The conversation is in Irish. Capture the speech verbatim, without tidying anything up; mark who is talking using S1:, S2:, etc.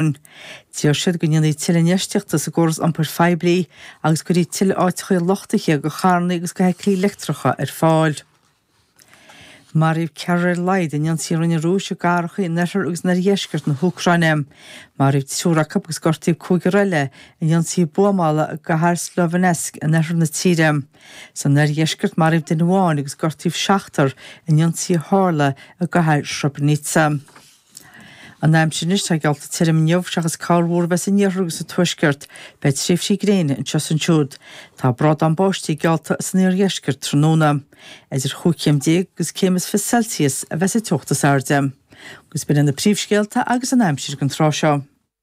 S1: D'iarr siad go ndéanfaí tuilleadh infheistíochta sa gcóras iompair phoiblí agus go gcuirfí tuilleadh áiteacha luchtaithe do charranna agus do feithiclí leictreacha ar fáil. Maraíodh ceathrar ar a laghad in ionsaí a rinne an Rúis i gcathracha in oirthear agus in oirdheisceart na hÚcráine. Maraíodh triúr acu agus gortaíodh cúigear eile in ionsaí buamála i gcathair Sloviansk in oirthear na tíre. San oirdheisceart maraíodh duine amháin agus gortaíodh seachtar in ionsaí a tharla i gcathair Srebrenica. An aimsir anois, tá geallta tirim inniu seachas corrmhúr a bheith san iarthar agus sa tuaisceart. Beidh tréimhsí gréine anseo is ansiúd. Tá brádán báistí geallta san iardheisceart tráthnóna. Idir chúig chéim déag agus céim is fiche Celsius a bheas an teocht is airde. Agus b'in iad na príomhscéalta agus an aimsir don tráth seo.